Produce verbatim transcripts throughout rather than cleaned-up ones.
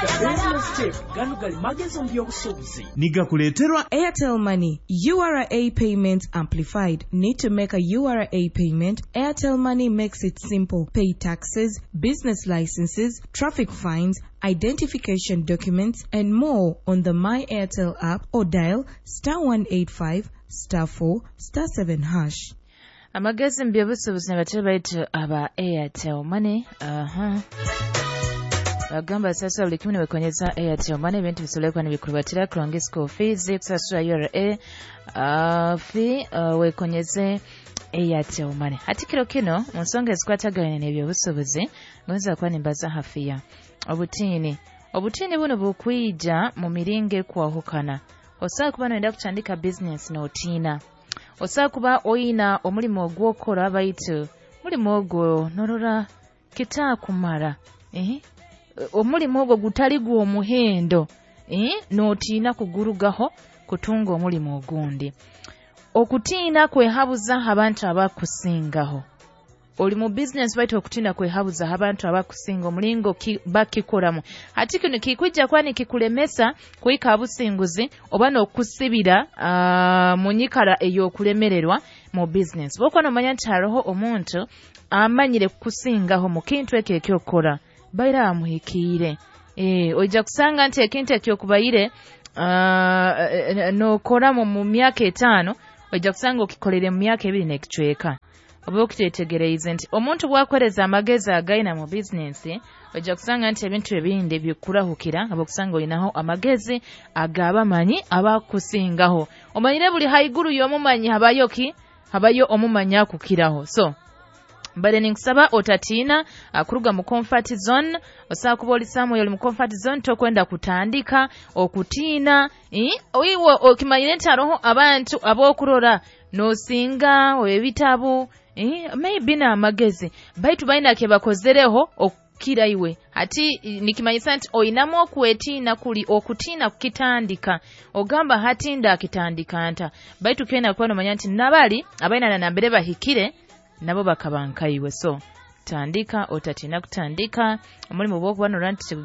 The Business Tip. Gano gali magezi mu by'obusuubuzi. Nigakuleeterwa Airtel Money, U R A Payment Amplified. Need to make a U R A payment? Airtel Money makes it simple. Pay taxes, business licenses, traffic fines, identification documents, and more on the My Airtel app or dial star one eight five star four star seven hash. Amagezi mu by'obusuubuzi n'abatera baitu aba Airtel Money. Aha. Bagamba sasa buli kimu niwekonyeza Airtel Money, ebintu bisolekwa nibikurubatira kulonga school fees, kusasula U R A uh, fee uh, wekonyeze Airtel Money. Hati kiro kino mu nsonga ezikwatagana n'ebyobusuubuzi ngonza kuba nimbaza hafiya obutiini. Obutiini buno bukwija mu miringo ekwahukana. Osobola kuba noyenda kutandika business n'otiina. Osobola kuba oyina omulimu ogw'okora baitu mulimu ogwo norora kitaakumara. Eh? Omulimu ogwo gutali gw'omuhendo, eh? N'otiina kugurugaho kutunga omulimu ogundi. Okutiina kwehabuza abantu abakusingaho. Oli mu business baitu okutiina kwehabuza abantu abakusinga omulingo ki, bakikoramu. Hati kino kikwijja kwani kikulemesa kuhika abusinguzi oba n'okusibira uh, mu nyikara ey'okulemererwa mu business. Bw'okuba n'omanya nti hariho omuntu amanyire kukusingaho mu kintu ekyo eky'okukora, baira amuhikiire. Eh, oija kusanga nti ekintu ekyokubaire uh, n'okora mu myaka etaano, oija kusanga okikolere mu myaka ebiri n'ekicweka. Oba okitetegereize nti omuntu bw'akoreza amagezi agayina mu bizinensi, ojja kusanga nti ebintu ebindi bikurahukira, aba okusanga olinaho amagezi ag'abamanyi abakusingaho. Omanyire buli haiguru y'omumanyi habayo ki? Habayo omumanyi akukiraho. So mbale ninkusaba otatiina kuruga mu comfort zone. Osobola kuba oli somewhere oli mu comfort zone tokwenda kutandika okutiina. Oiwe okimanyire nti hariho abantu ab'okurora n'osinga ebitabo, eh, maybe n'amagezi baitu balina ke bakozereho okukira iwe. Hati nikimanyisa nti oyinamu okwetiina kuli okutiina kukitandika, ogamba hati ndakitandika nta, baitu kyena kuba nomanya nti nabali abalina na nambere bahikire nabo bakaba nkaiwe. So tandika, otatiina kutandika omulimu bw'okuba norora nti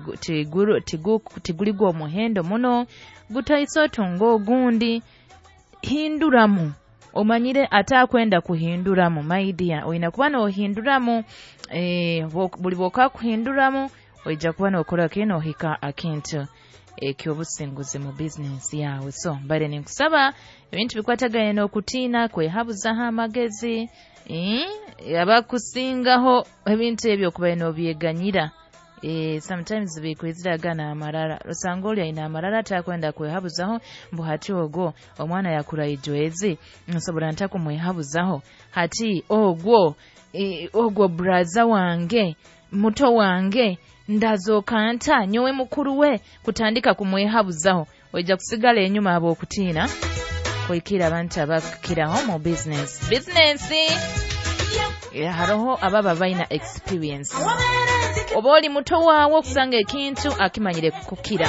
tiguli gw'omuhendo muno, gutaisa otunga ogundi, hinduramu. Omanyire atakwenda kuhinduramu, my dear, oyina kuba n'ohinduramu. Eh, buli bw'oka kuhinduramu oija kuba n'okora ki n'ohika akintu ekyobusinguzi mu bizinensi yawe. So mbale ninkusaba ebintu bikwatagane n'okutiina, kwehabuzaho amagezi, eh, abakusingaho ebintu ebyo okuba n'obyeganyira. Eh, sometimes bikwiziraga n'amarara. Osanga oli ayina amarara atakwenda kwehabuzaho, mbu hati ogwo omwana yakura ijwezi nsobola nta kumwehabuzaho, hati ogwo e, ogwo braza wange muto wange ndazooka nta nyowe mukuru we kutandika kumwehabuzaho. Oija kusigala enyuma abo okutiina kuikira abantu abakukiraho mu business. Business hariho ababa balina experience. Oba oli muto waawe okusanga ekintu akimanyire kukukira.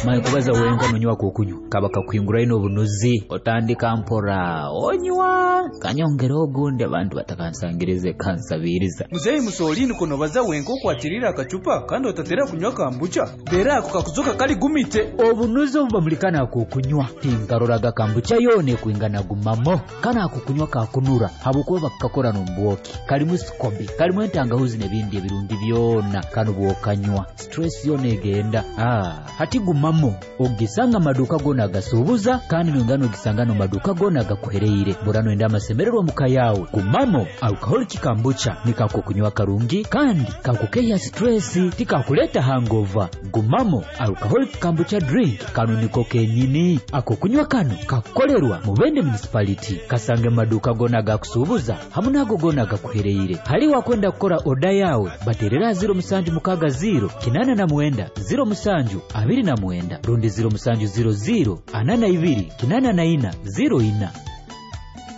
Maye kubaza wenka nonywa kukunywa kaba kakuhingura ino obunuzi otandika mpora onywa kanyongera ogundi abantu batakansangirize kansabiriza. Muzeyi Musolini kuno baza wenka okwatirira akacupa kandi otatera kunywa kambucha dera ako kakuzoka kali gumite obunuzi obubamulikana kukunywa tinkaroraga kambucha yone kuingana gumamo kana akukunywa kakunura habukuba bakakora n'ombwoki kalimu sikobi kalimu entangahuzi n'ebindi ebirungi byona kano bwokanywa stress yone egenda. Ah, hati gumamo ogisanga maduka gona agasubuza kandi nongano ogisanga no maduka gona agakuhereire burano enda amasemererwa muka yawe. Gumamo alcoholic kambucha nikakukunywa karungi kandi kakukeya stress tikakuleta hangover. Gumamo alcoholic kambucha drink kano niko kenyini ako kunywa kano kakukolerwa Mubende municipality kasange maduka gona agakusubuza hamwe nago gona agakuhereire. Hali wakwenda kukora oda yawe baterera ziro musanju mukaga ziro kinana na mwenda ziro musanju abiri na mwenda rundi ziro musanju ziro ziro anana ibiri kinana na ina ziro ina.